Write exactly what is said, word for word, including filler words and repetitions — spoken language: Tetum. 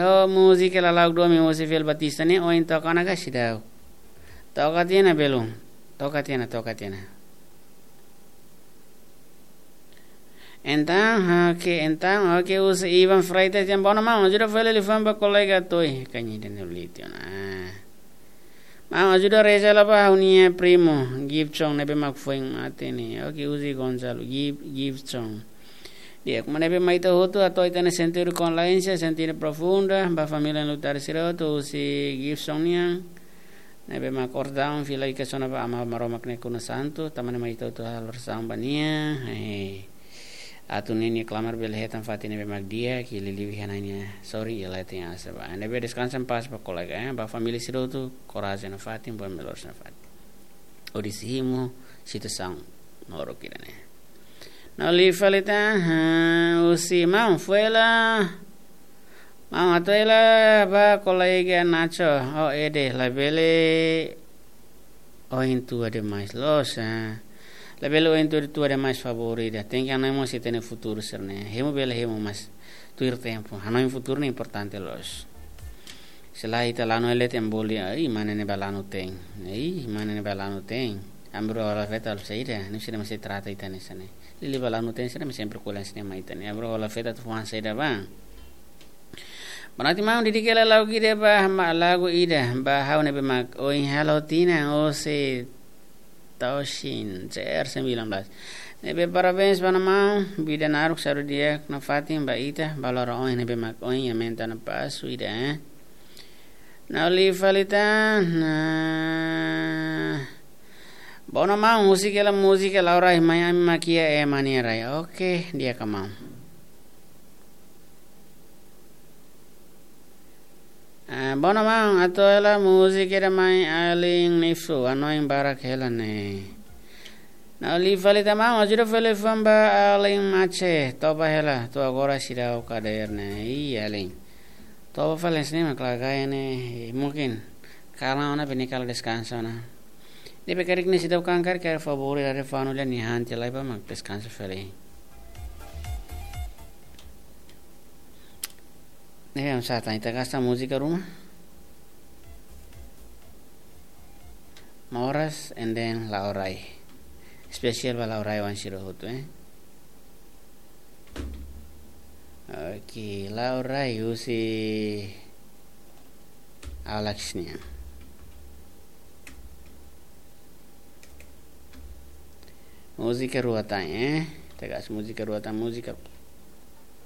Oh, múzika lala'ok domin husi Fel Batista ne'e, ohin toka ona ka seidauk? Toka tiha ona belum? Toka tiha ona, toka tiha ona. Entaun, oke, entaun, oke, husi Ivan Freitas dehan: "Bono maun, ajuda fali liafuan ba kolega Toy." Kanya dan uliti ona. "Maun, ajuda reza hela ba ha'u-nia primu Gibson ne'ebé mak foin mate ne'e." Oke, husi Gonzalo Gib-, Gibson. Di'ak, maun, ne'ebé mak ita hotu hato'o ita-nia sentidu kondoleensia, sentidu profunda ba família enlutadu sira hotu, husi Gibson nian. Ne'ebé mak orasaun fila iha kona-ba Aman Maromak nia kunu santu, tanba ne'e mak ita hotu halo orasaun ba nia. Eh, atu ninia klamar bele hetan fatin ne'ebé mak di'ak, liuliu iha Na'i nia sorin, i ela tenke asa ba. Ne'ebé deskansa en paz ba kolega, eh, ba família sira hotu, korajen nafatin, buat melhores nafatin. Hodi simu situasaun no oro kira ne'e. No li falita, ha, husi maun, fó hela. Maun, atu hela ba kolega Nacho, o ede, labele ohin tua demais, loos, ha. Labele ohin tua, tua demais, favór ida. Tenke hanoin mós ita-nia futuru sira-ne'e. Hemu bele hemu, mas tuir tempu. Hanoin futuru ne'e importante, loos. Se lae ita lanu, ele tem boli, ai, mana ne'e ba lanu tein. Ai, mana ne'e ba lanu tein. Abru hola feta al saida, ne'e sira mesti trata ita hanesan ne'e. Liuliu ba lanu tein sira mesti sempre ko'alia hanesan ne'e mai ita-nia. Abru hola feta atu fó hanesan saida ba. Berarti maun, dedika hela lagu ida ba, ma-, lagu ida ba ha'u ne'ebé mak ohin halo tinan, husi Toshin, C R sembilan belas. Ne'ebé parabéns ba maun, vida naruk, saúde di'ak nafatin ba ita, ba loron ohin ne'ebé mak ohin, aumenta ona pasu ida, eh. No li falita, nah. Bono maun, husik hela múzika La'o Rai, Mai Ami Mak Iha, eh, Mania Rai. Oke, di'ak ka maun. Ah, bono maun, atu hela múzika ida mai alin Nifu, hanoin barak hela ne'e. No li falita maun, ajuda fali liafuan ba alin Mace, toba hela, to'o agora seidauk hadeer ne'e. Iya, alin. Toba fali hanesan ne'e mak la gaya ne'e, mungkin. Karena ona bini kala deskansa ona. Ne'ebé karik ne'e seidauk kankar, karik favór, dari fanu lian ni hanti lai ba mak deskansa fali. Ne'e, oinsá tan, ita gasta múzika ruma? Moras and then La'o Rai. Espesiál ba La'o Rai oan sira hotu, eh. Oke, La'o Rai husi Alex nian. Múzika rua tan, eh. Ita gasta múzika rua tan, múzika